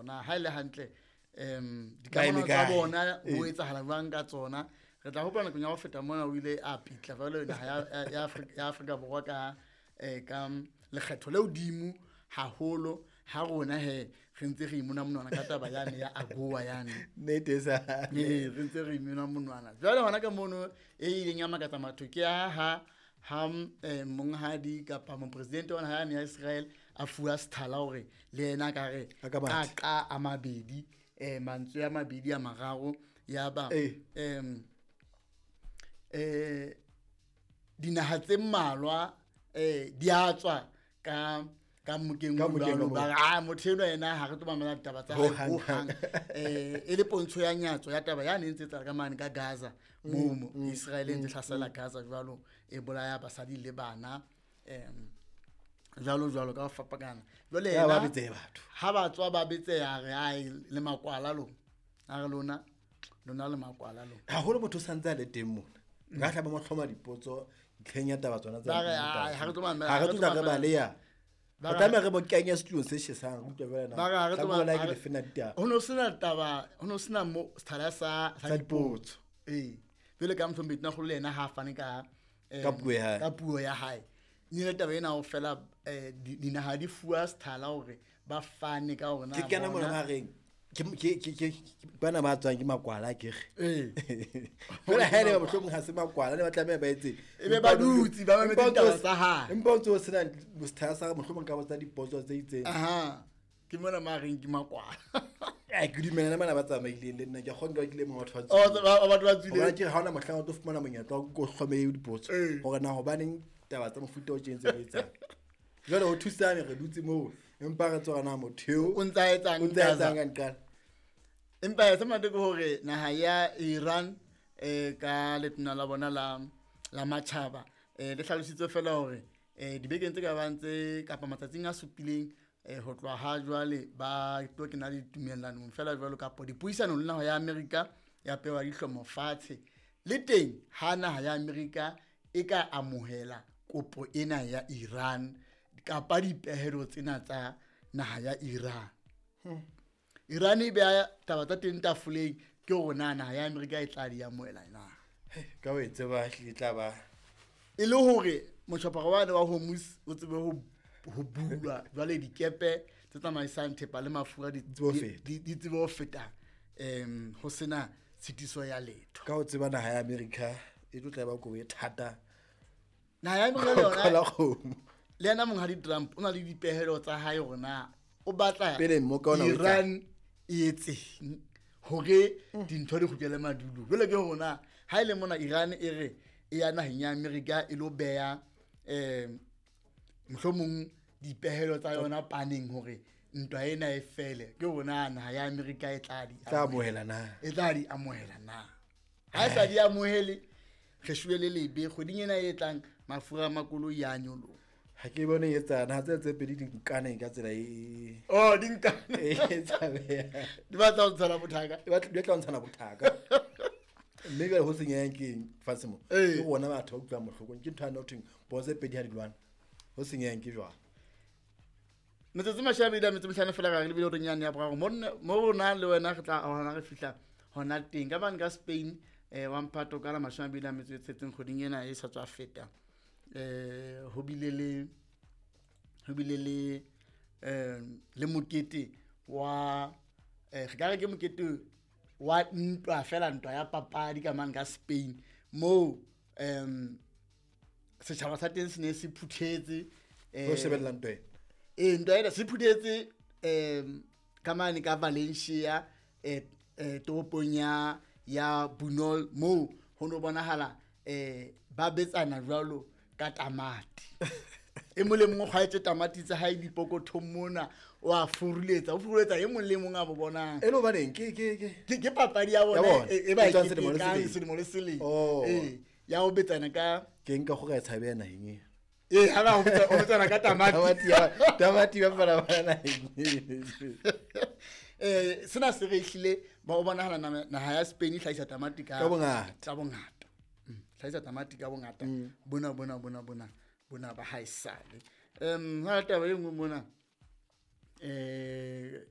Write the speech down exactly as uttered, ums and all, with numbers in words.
na ha ile hantle em dikamano tsa bona ho etsahala jwang ka tsona. Re tla hopola nakong ya ho feta mona o ile a pitla jwalo naha ya ya Afrika ya Afrika Borwa ka eh ka lekgetho le hodimo haholo ha rona he re ntse re imona monwana ka taba yane ya AGOA yane nnete sa eh re ntse re imona monwana. Jwale hona ka mono e ileng ya makatsa matho ke ha ha ha monghadi kapa mopresidente wa naha ya Israel a fuwa sethala hore le yena ka re ka ka a mabedi eh mantswe a mabedi a mararo ya ba em eh dinaha tse mmalwa eh di a tswa ka ka mokeng o jwalo ba a motho eno yena ha re tlo mamela ditaba tsa hae ho hang eh e le pontsho ya nyatso ya taba ya ne ntse tsa ka mane ka Gaza moo Israel e ntse hlasela Gaza jwalo e bolaya basadi le bana em jwalo jwalo ka fapakana. Jwale yena ba betseya batho ha ba tswa ba betseya re ai le makwala lo a re lona lona le makwala lo haholo motho santse a le teng mona nka hlaba mo hloma dipotso ntlheng ya taba tsona tsa ba re ha re tlo mamela ha re tlo re baleya ba tlameha re bo kenye setulong se shesang re utlwe jwale na ba re tlo bona ke lefena ditaba ho no sena taba ho no sena mo sethala sa sa dipotso eh jwale ka motho mbetna kgolo le yena ha fane ka ka puo ya hae ka puo ya hae ni le taba ena o fela dinaha di fuwa sethala hore ba fane ka hore na ke kena mona ba reng ke ke ke bana ba tswang ke makwala ke re eh fela ha ele ba bohlokong ha se makwala ne ba tlameha ba etse e be ba dutse ba mametse ditaba tsa hae empa o ntse o sena sethala sa mohlomong ka botsa dipotso tse itseng aha ke mona ma reng ke makwala eh ke dumela le bana ba tsamaileng le nna ke kgona ke le motho wa oh batho ba tswile ke ha ona mohlang o tlo fumana monyetla wa go hlome dipotso hore na hobaneng taba tsa mofuta o tjeng tse etsang jwale ho thusane re dutse moo empa re tswa na motho eo o ntsa etsang o ntsa etsang ka nqala empa se monate ke hore naha ya Iran eh ka letona la bona la la matjhaba eh le hlalositse fela hore eh dibekeng tse ka bang tse kapa matsatsing a supileng eh ho tloha ha jwale ba tlo kena ditumellanong fela jwalo kapa dipuisanong le naha ya Amerika ya pewa dihlomo fatshe le teng ha naha ya Amerika e ka amohela kopo ena ya Iran kapa dipehelo tsena tsa naha ya Iran. Hmm. Iran e beha taba tsa teng tafoleng ke hore na naha ya Amerika e tla di amohela na. Ka o e tseba e tla ba e le hore motjhaparo wa wa Hormuz o tsebe ho ho bulwa jwale dikepe tse tsamaisang thepa le mafura di di tsebe ho feta em ho sena tshitiso ya letho. Ka o tseba naha ya Amerika e tlo tla ba kobo e thata. Naha ya Amerika le yona le yena monghadi Trump o na le dipehelo tsa hae hore na o batla Iran e etseng hore dintho di kgutlele madulo. Jwale ke hore na ha ile mona Iran e re e ya naheng ya Amerika e lo beha eh mohlomong dipehelo tsa yona paneng hore ntwa ena e fele ke hore na naha ya Amerika e tla di amohela na e tla di amohela na ha e sa di amohele re shwele le lebe kgweding ena e tlang mafura a makoloi a nyoloha. Ha ke bone e etsana ha tse tse pedi di nkane ka tsela e oh di nkane e tshabeha di batla ho ntshana bothaka di batla di tla ntshana bothaka mme jwale ho senyang keng fatshe mo ke bona batho ba utlwang bohloko ke ntho ya nothing bo tse pedi ha di lwana ho senyang ke jwang metsotso mashome a metso mehlano fela ka re lebile hore nyane ya boraro mo mo rona le wena re tla hona re fihla hona teng ka bane ka Spain eh wa mphato ka la mashome a mabedi a metso e tsheletseng kgweding ena e sa tswa feta eh ho bile le ho bile le eh le mokete wa eh re ka re ke mokete wa ntwa fela ntwa ya papadi ka mang ka Spain mo em setjhaba sa teng se ne se phuthetse eh ho shebella ntwa ena eh ntwa ena se phuthetse em ka mane ka Valencia eh toropong ya ya Bunol mo ho no bonahala eh ba betsana jwalo ka tamati e mong le mong o kgwaetse tamati tsa hae dipokothong mona o a furuletsa o furuletsa e mong le mong a bo bonang e le hobaneng ke ke ke ke papadi ya bona e ba e ketekang selemo le selemo eh ya ho betsana ka ke nka gore e tshabe naheng e eh ha ba ho betsana ka tamati tamati ya tamati ba fana ba naheng eh sena se re hlile ba o bonahala naha ya Spain e hlahisa tamati ka ka bongata ka bongata hlahisa tamati ka bongata bona bona bona bona bona ba haesale em ha taba e nngwe mona eh